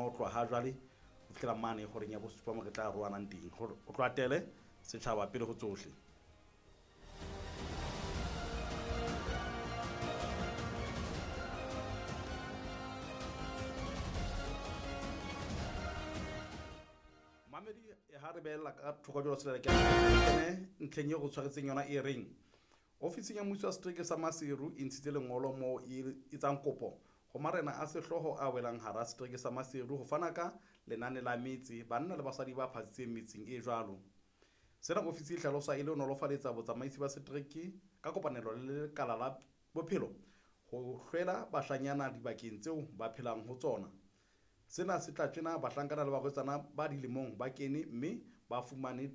ho tloha ha jwale ho fihlela mane horeng ya bosupa mo re tla roanang teng. Ho tloha tele setjhaba pele ho tsohle. Mamedi ha re beella ka thoko jwalo selele ke kene ntlheng eo go tshwaretseng yona e reng ofising ya mmuso wa setereke sa Maseru e ntshitse lengolo moo e etsang kopo ho marena a sehlooho a welang hara setereke sa Maseru ho fana ka lenane la metse banna le basadi ba phatsitseng metseng e jwalo. Sena ofisi e hlalosa e le ho nolofaletsa botsamaisi ba setereke ka kopanelo le lekala la bophelo ho hlwela bashanyana dibakeng tseo ba phelang ho tsona. Sena se tla tjena bahlankana le barwetsana ba dilemong ba kene mme ba fumane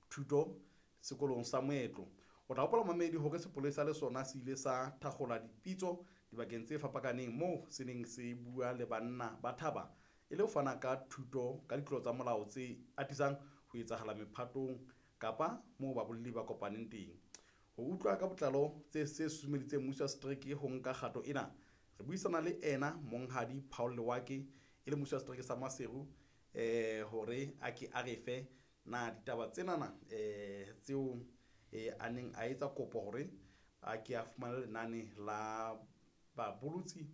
thuto sekolong sa moetlo. O tla hopola mamedi hore sepolesa le sona se ile sa thakgola dipitso dibakeng tse fapakaneng moo se neng se bua le banna ba thaba e le ho fana ka thuto ka ditlolo tsa molao tse atisang ho etsahala mephatong kapa moo babolli ba kopaneng teng. Ho utlwa ka botlalo tse se susumeditseng mmuso wa setereke ho nka kgato ena, re buisana le ena Monghadi Paul Lewake e le mmuso wa setereke sa Maseru hore a ke a re fe na ditaba tsenana tseo a neng a etsa kopo hore a ke a fumane lenane la babolotsi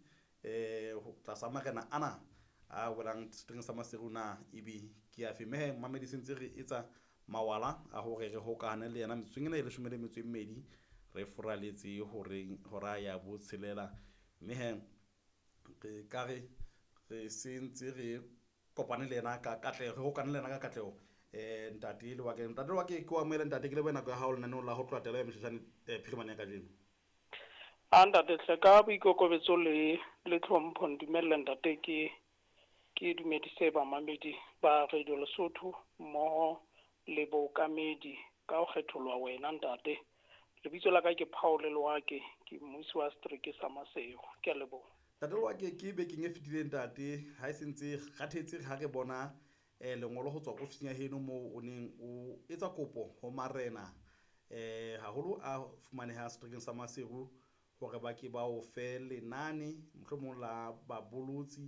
tlasa marena ana a welang seterekeng sa Maseru na ebe ke afe. Mme mamedi se ntse re etsa mawala a hore re hokahane le yena metsotsong ena e 12 re foraletse horeng hora ya botshelela. Mme he re ka re re se ntse re kopane le yena ka katleho, re hokane le yena ka katleho. Ntate Lewake, ntate Lewake ke o amohele ntate, ke lebohe nako ya hao lenaneong la ho tloha tela ya Meshashane phirimane ya kajeno. A ntate hle ka boikokobetso le tlhompho ndumelle ntate ke dumedise bamamedi ba Radio Lesotho mmoho le bookamedi ka ho kgetholwa wena ntate. Lebitso la ka ke Paul Lewake, ke mmusi wa setereke sa Maseru. Ke a leboha. Ntate Lewake, ke bekeng e fetileng ntate ha e se ntse kgathetse ha re bona lengolo ho tswa ofising ya heno moo o neng o etsa kopo ho marena haholo a fumaneha seterekeng sa Maseru hore ba ke ba o fe lenane mohlomong la babolotsi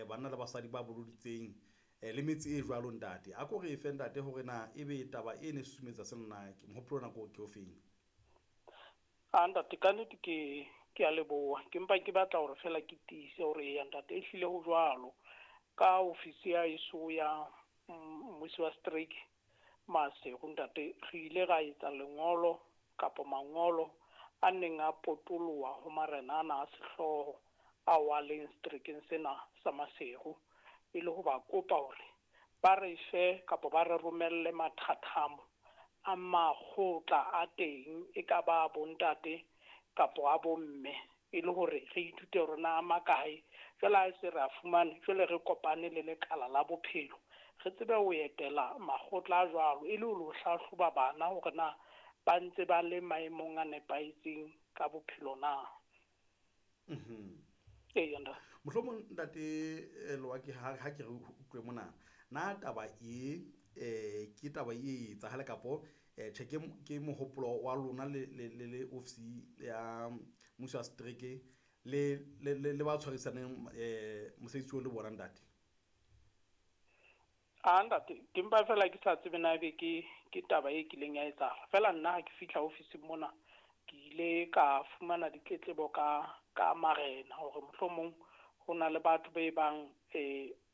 banna le basadi ba boloditseng le metse e jwalo ntate. A ko re fe ntate hore na ebe taba e ne susumetsa sena na mohopolo ona ke o feng? A ntate ka nnete ke a leboha. Ke mpa ke batla hore fela ke tiise hore eya ntate e hlile ho jwalo. Ka ofisi ya heso ya mmusi wa setereke Maseru ntate, re ile ra etsa lengolo kapa mangolo a neng a potoloha ho marena ana a sehlooho ao a leng seterekeng sena sa Maseru, e le ho ba kopa hore ba re fe kapa ba re romelle mathathamo a makgotla a teng, e ka ba bontate kapo a bomme, e le hore re ithute hore na a makae. Jwale ha se re a fumane, jwale re kopane le lekala la bophelo, re tsebe ho etela makgotla a jwalo e le ho lo hlahloba bana hore na ba ntse ba le maemong a nepahetseng ka bophelo na. Eya ntate. Mohlomong ntate Lewake ha ke re utlwe mona, na taba e ke taba e etsahale kapo tjhe ke mohopolo wa lona le ofisi ya mmuso wa setereke le ba tshwarisaneng mosebetsi o le bona ntate? A ntate, ke mpa fela ke sa tsebe na ebe ke taba e kileng ya etsahala. Fela nna ha ke fihla ofising mona, ke ile ka fumana ditletlebo ka marena hore mohlomong ho na le batho be bang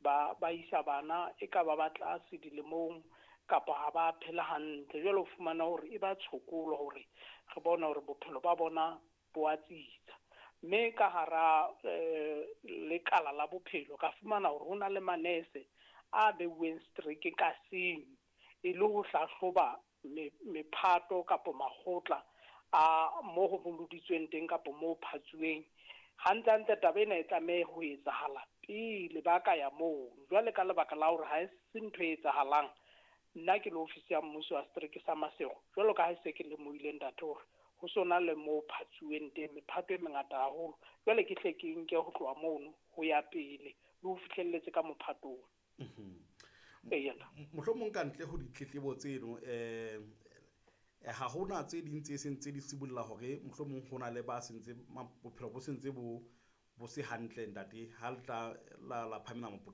ba isa bana e ka ba ba tlase dilemong kapa ha ba phela hantle. Jwale o fumana hore e ba tshokolo hore re bone hore bophelo ba bona bo a tsitsa. Mme ka hara lekala la bophelo ka fumana hore ho na le manese a beuweng setereke ka seng e le ho hlahloba mephato kapo makgotla a mo ho boloditsweng teng kapo mo phatsuweng. Hantle hantle taba ena e tlameha ho etsahala pele ba ka ya moo. Jwale ka lebaka la hore ha e se ntho e etsahalang, nna ke le ofisi ya mmuso wa setereke sa Maseru, jwalo ka ha se ke lemohile ntate hore ho sona le mo phatsuweng teng mephato e mengata haholo. Jwale ke hle ke nke ho tloha mono ho ya pele le ho fihlelletse ka mophatong. Eya. Mohlomong ka ntle ho ditletlebo tseno ha hona tse ding tse seng tse di sibolla hore mohlomong ho na le ba sentse bophelo bo sentse bo se hantle ntate ha le tla la phamela mopoqo.